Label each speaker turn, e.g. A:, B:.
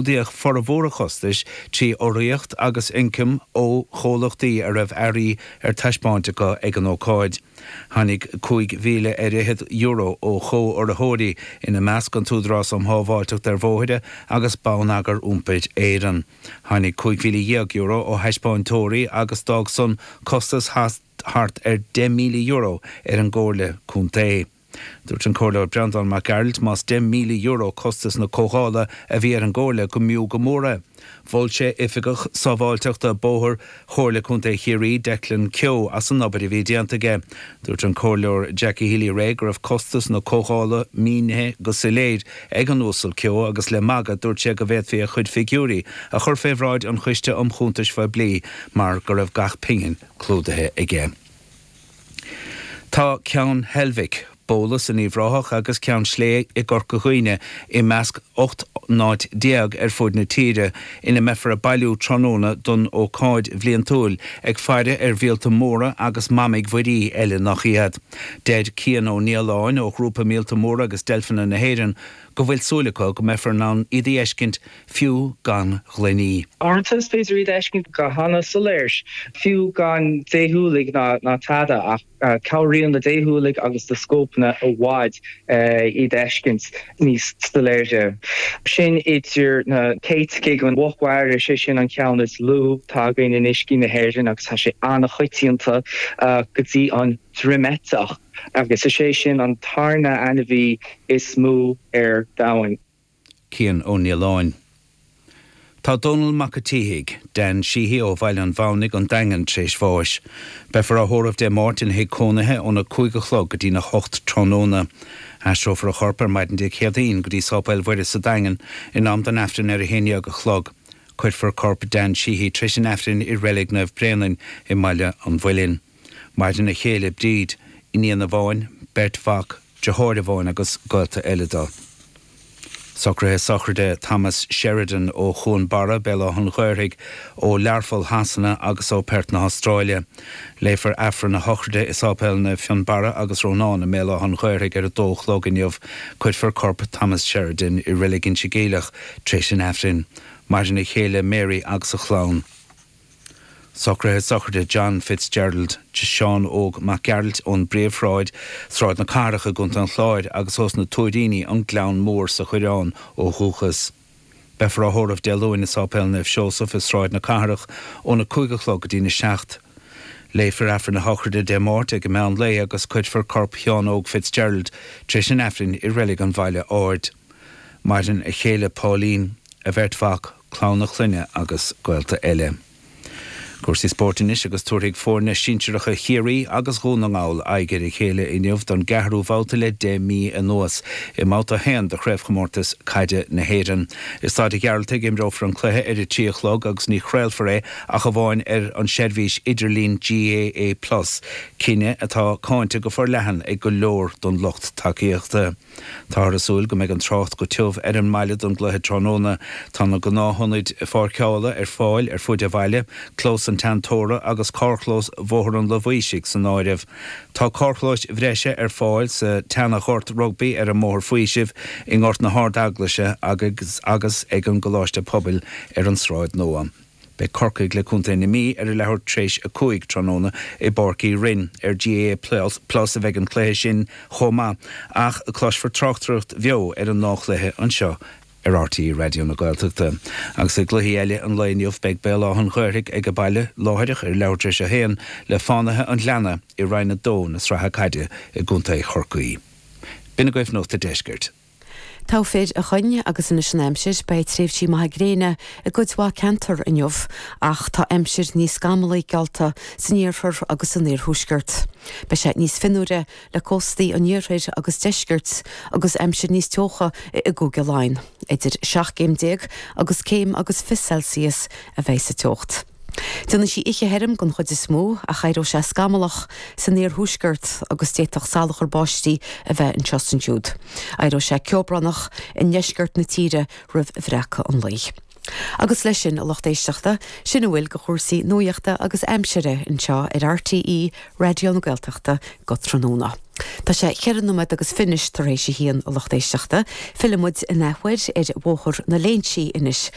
A: Clúdaíodh formhór an chostais trí urraíocht agus ioncam ó chomhlachtaí a raibh earraí ar taispeáint acu ag an ócáid. Tháinig €5,000 ar fhichead ó chomh-urraitheoirí, ina measc an tÚdarás um Shábháilteacht ar Bhóithre agus Bonneagar Iompair Éireann. Tháinig €15,000 ó thaispeántóirí agus d'fhág san costas thart ar €10,000 ar an gComhairle Contae. Dúirt an Comhairleoir Breandán Mac Gearailt más €10,000 costas na comhdhála a bhí ar an gComhairle go mb'fhiú go mór é. Mhol sé Oifigeach Sábháilteachta Bóthair Chomhairle Contae Chiarraí, Declan Keogh, as an obair a bhí déanta aige. Dúirt an Comhairleoir Jackie Healy-Rae go raibh costas na comhdhála mínithe go soiléir ag an Uasal Keogh agus le magadh dúirt sé go bhféadfaí a chuid figiúirí a chur fé bhráid an Choiste um Chuntais Phoiblí mar go raibh gach pingin clúdaithe aige. Tá Ceann Heilbhic, Bólas in Uíbh Ráthach agus Ceann Sléibhe i gCorca Dhuibhne i measc 18 n-áit ar fud na tíre ina mbeifear ag bailiú tráthnóna don ócáid bhliantúil ag faire ar mhíolta móra agus mamaigh mhuirí eile nach iad. Deir Cian Ó Nialláin ó Ghrúpa Míolta Móra agus Deilfeanna na hÉireann go bhfuil súil acu go mbeifear in ann iad a fheiscint fiú gan ghloiní.
B: Uaireanta is féidir iad a fheiscint go hana-soiléir, fiú gan déshúiligh ná tada, ach cabhraíonn na déshúiligh agus na scópanna i bhfad iad a fheiscint níos soiléire. Sin idir na céiticigh, an mhuc mhara, is é sin an ceann is lú atá againn in uiscí na hÉireann agus tá sé an-choitianta, go dtí an droimeiteach, agus is é sin an tarna ainmhí is mó ar domhan.
A: Cian Ó Nialláin. Tá Dónal Mac a' tSíthigh, Dan Sheehy ó Bhaile an Mhamhnaigh, An Daingean, tar éis bháis. Beifear á thórramh Dé Máirt ina thigh cónaithe óna 5 a chlog go dtína hocht tráthnóna. Aistreofar a chorp ar maidin Dé Céadaoin go dtí Sáipéal Mhuire sa Daingean in am don Aifreann ar a haon dhéag a chlog. Cuirfear corp Dan Sheehy tar éis an Aifrinn i Reilig Naomh Bréanainn i mBaile an Mhuilinn. Maireann a chéile Bríd, iníon amháin, beirt mhac, deartháir amháin agus gaolta eile dó. Socruithe sochraide Thomas Sheridan ó Chuan Barra, Béal Átha an Ghaorthaidh, ó Learpholl Shasana agus ó Perth na hAstráile. Léifear Aifreann a shochraide i Sáipéal Naomh Fionnbarra agus Rónán i mBéal Átha an Ghaorthaidh ar a dó a chlog inniu. Cuirfear corp Thomas Sheridan i Reilig Inse Geimhleach tar éis an Aifrinn. Maireann a chéile Mary agus a chlann. Socruithe sochraide John Fitzgerald, Seán Óg Mac Gearailt ón bPríomhshráid, Sráid na Cathrach i gContae an Chláir agus ós na Tuairíní, An Gleann Mór sa Choireán ó dhúchas. Beifear á thórramh Dé Luain i Sáipéal Naomh Seosamh i Sráid na Cathrach óna 5 a chlog go dtína 7. Léifear Aifreann a shochraide Dé Máirt ag an meán lae agus cuirfear corp Sheáin Óg Fitzgerald tar éis an Aifrinn i Reilig an Bhaile Aird. Maireann a chéile Pauline, a bheirt mhac, clann a clainne agus gaolta eile. Cúrsaí spóirt anois agus tabharfaidh foirne sinsearacha Chiarraí agus Dhún na nGall aghaidh ar a chéile inniu don gceathrú bhabhta le 10 mí anuas i mBabhta 1 de Chraobhchomórtas Caide na hÉireann. I Staid an Ghearaltaigh imreofar an cluiche ar a 3 a chlog agus ní chraolfar é ach amháin ar an seirbhís idirlín GAA Plus, cinneadh atá cáinte go forleathan ag go leor don lucht tacaíochta. Táthar ag súil go mbeidh an trácht go tiubh ar an mbaile don gcluiche tráthnóna. Tá na gnáthionaid pháirceála ar fáil ar fuaid an bhaile, Clós an Teanntóra agus carrchlós Bhóthar an Luibhaoisigh san áireamh. Tá carrchlóis bhreise ar fáil sa tseana-ghort rugbaí ar an mBóthar Faoisimh, i nGort na hArd-Eaglaise agus agus ag an gColáiste Pobail ar an Sráid Nua. Beidh Corcaigh le Contae na Mí ar a leathuair tar éis 5 tráthnóna i bPáirc Uí Rinn. Ar GAA Plus a bheidh an cluiche sin chomh maith, ach cloisfear tráchtaireacht bheo ar an ndá chluiche anseo ar RTÉ Raidió na Gaeltachta. Agus i gcluichí eile an lae inniu beidh Béal Átha an Ghaorthaidh ag baile láithreach ar leathuair tar éis a haon le Fánaithe an Ghleanna i Roinn 2 na Sraithe Caide i gContae Chorcaí. B'in agaibh Nuacht a' Deiscirt.
C: Togha fir a Choinn agus anois an aimsir, beidh tréimhsí maithe gréine i gcuid mhaith ceantar inniu ach tá aimsir níos scamallaí geallta san iarthar agus san iarthuaisceart. Beidh sé níos fionnuaire le cóstaí an iarthair agus deiscirt agus aimsir níos teocha i gCúige Laighean. Idir 17 gcéim agus céim agus 20 Celsius a bheidh sa teocht. Déanfaidh sí oíche thirim den chuid is mó ach éireoidh sé scamallach san iarthuaisceart agus d'fhéadfadh salachar báistí a bheith anseo is ansiúd. Éireoidh sé ceobránach i ndeisceart na tíre roimh bhreacadh an lae. Agus leis sin, a lucht éisteachta, sin a bhfuil de chúrsaí nuachta agus aimsire anseo ar RTÉ Raidió na Gaeltachta go tráthnóna. Tá sé cheithre nóiméad agus fiche tar éis a haon, a lucht éisteachta. Fillfidh muid in athuair ar Bhóthar na Léinsí anois.